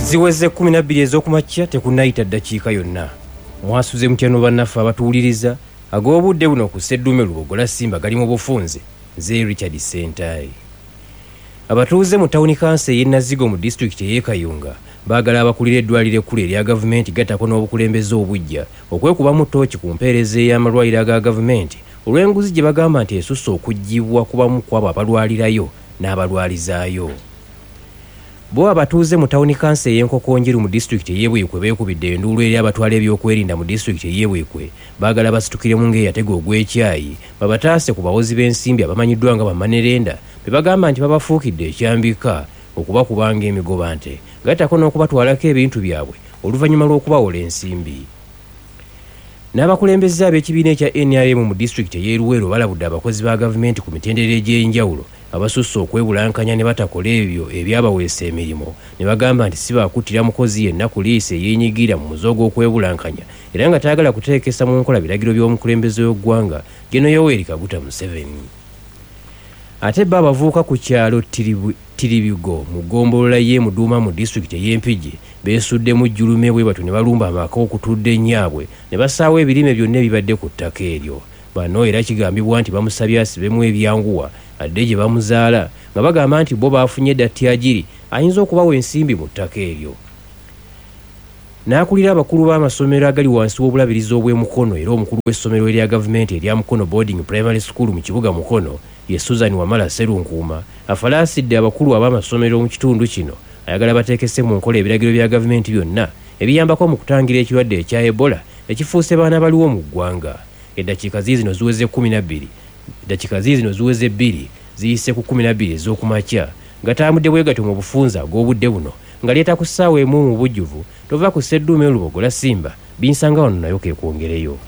Ziweze 12 ez'okumakya, tekunnayita ddakiika yonna. Mwasuze mutya no bannaffe abatuwuliriza? Ag'obudde buno ku Sseddume Lubogola Simba gali mu bufunze. Nze Richard Ssentayi. Abatuuze mu tawuni kanso ey'e Nazigo mu disitulikiti ey'e Kayunga baagala abakulira eddwaliro ekkulu erya gavumenti gattako n'obukulembeze obuggya okwekubamu ttooci ku mpeereza ey'amalwaliro aga gavumenti olw'enguzi gye bagamba nti esusse okuggyibwa ku bamu ku abo abalwalirayo n'abalwalizaayo. Bo abatuuze mu tawuni kanso ey'e Nkokonjeru mu disitulikiti ey'e Buikwe beekubidde enduulu eri abatwala ebyokwerinda mu disitulikiti ey'e Buikwe. Baagala basitukiremu ng'eyatega ogw'ekyayi babataase ku bawozi b'ensimbi abamanyiddwa nga bamanerenda be bagamba nti babafuukidde ekyambika okubakuba ng'emigobante gattako n'okubatwalako ebintu byabwe oluvannyuma lw'okubawola ensimbi. N'abakulembeze ab'ekibiina ekya NRM mu disitulikiti ey'e Luweero balabudde abakozi ba gavumenti ku mitendera egy'enjawulo abasusse okwebulankanya ne batakola ebyo ebyabaweesa emirimu ne bagamba nti si baakuttira mukozi yenna ku liiso eyeenyigira mu muze ogw'okwebulankanya era nga tayagala kuteekesa mu nkola biragiro by'omukulembeze w'eggwanga Gen. Yoweri Kaguta Museveni. Ate bo abavubuka ku kyalo Tiribigo mu ggombolola y'e Muduuma mu disitulikiti ey'e Mpigi beesuddemu jjulume bwe batyo ne balumba amaka okutudde nnyaabwe ne basaawa ebirime byonna ebibadde ku ttaka eryo. Bano era kigambibwa nti bamusabye asibemu ebyanguwa adde gye bamuzaala nga bagamba nti bo baafunye dda ttyajiri ayinza okubawa ensimbi mu ttaka eryo. N'akulira abakulu b'amasomero agali wansi w'obulabirizi obw'e Mukono era omukulu w'essomero erya gavumenti erya Mukono Boarding Primary School mu kibuga Mukono ye Susan Wamala Sserunkuuma afalaasidde abakulu ab'amasomero mu kitundu kino ayagala bateekese mu nkola ebiragiro bya gavumenti byonna ebiyambako mu kutangira ekirwadde ekya Ebola ekifuuse baana baliwo mu ggwanga. Eddakiika ziizino ziweze 12, eddakiika ziizino ziweze 2 ziyise ku 12 ez'okumakya. Gatambudde bwe gatyo mu bufunze ag'obudde buno nga leeta ku ssaawa emu mu bujjuvu. Tova ku Sseddume Lubogola Simba, binsanga wano nayo keekwongereyo.